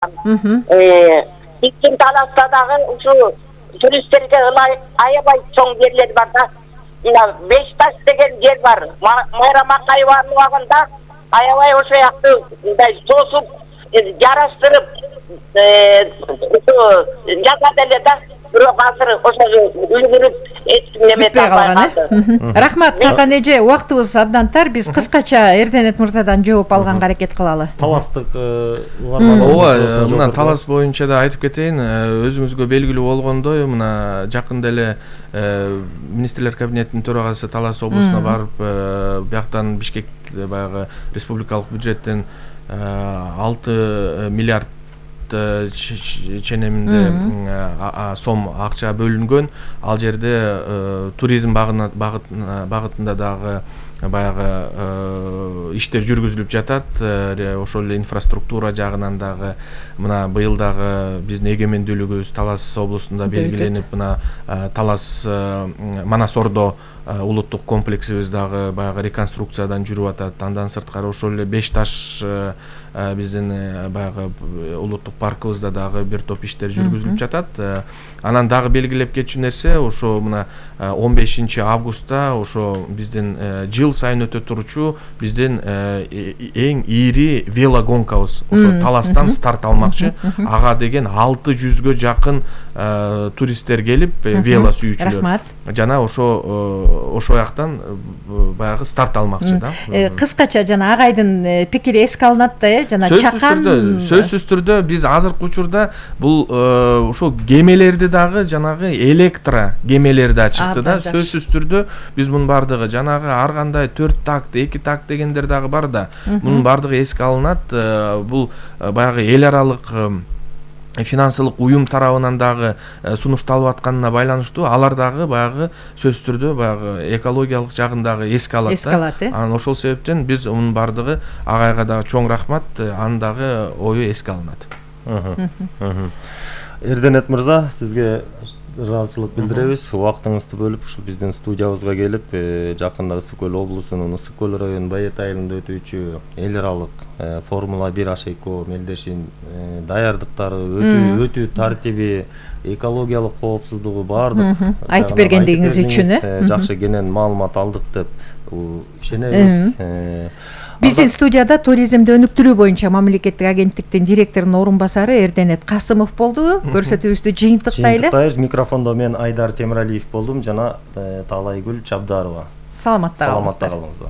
Иккин Таласта дагы ушу туристтерге аябай чоң жерлер бар да. Мына Бешташ деген жер бар. Майра Макаеванын убагында аябай ошо жакты мындай тосуп жараштырып жазат эле да. Бирок азыр ошо үлгүрүп эч неме калган. Рахмат Калкан эже, убактыбыз абдан тар. Биз кыскача Эрденет мырзадан жооп алганга аракет кылалы. Таластык ооба, мына Талас боюнча да айтып кетейин. Өзүңүзгө белгилүү болгондой, мына жакында эле министрлер кабинетинин төрагасы Талас облусуна барып, бияктан Бишкек баягы республикалык бюджеттен 6 миллиард ченеминде сом акча бөлүнгөн. Ал жерде туризм багытында дагы баягы иштер жүргүзүлүп жатат. Ошол эле инфраструктура жагынан дагы мына быйыл дагы биздин эгемендүүлүгүбүз Талас облусунда белгиленип, мына Талас Манас Ордо улуттук комплексибиз дагы баягы реконструкциядан жүрүп атат. Андан сырткары ошол эле Бешташ биздин баягы улуттук паркыбызда дагы бир топ иштер жүргүзүлүп жатат. Анан дагы белгилеп кетчү нерсе, ошо мына 15 августта ошо биздин жыл сайын өтө турчу биздин эң ири велогонкабыз ошо Таластан старт алмакчы. Ага деген 600гө жакын туристтер келип, вело сүйүүчүлөр. Жана ошо жактан баягы старт алмакчы да. Кыскача жана агайдын пикири эске алынат да, жана чакан. Сөзсүз түрдө биз азыркы учурда бул ошо кемелерди дагы жанагы электро кемелерди ачыкты да. Сөзсүз түрдө биз мунун бардыгы жанагы ар кандай 4 такт, 2 такт дегендер дагы бар да. Мунун бардыгы эске алынат. Бул баягы эл аралык финансылык уюм тарабынан дагы сунушталып атканына байланыштуу алар дагы баягы сөзсүз түрдө баягы экологиялык жагын дагы эске алат да. Анан ошол себептен биз мунун бардыгы агайга дагы чоң рахмат, анын дагы ою эске алынат. Эрденет мырза, сизге ыраазычылык билдиребиз. Убактыңызды бөлүп ушул биздин студиябызга келип, жакында Ысык көл облусунун Ысык көл районунун Байет айылында өтүүчү эл аралык Формула 1 H2O мелдешин даярдыктары, өтүү тартиби, экологиялык коопсуздугу баардык айтып бергендигиңиз үчүн жакшы кенен маалымат алдык деп ишенебиз. Биздин студияда туризмди өнүктүрүү боюнча мамлекеттик агенттиктин директорунун орун басары Эрденет Касымов болду. Көрсөтүүбүздү жыйынтыктайлы. Микрофондо мен Айдар Темиралиев болдум жана Таалайгүл Чабдарова. Саламатта калыңыздар.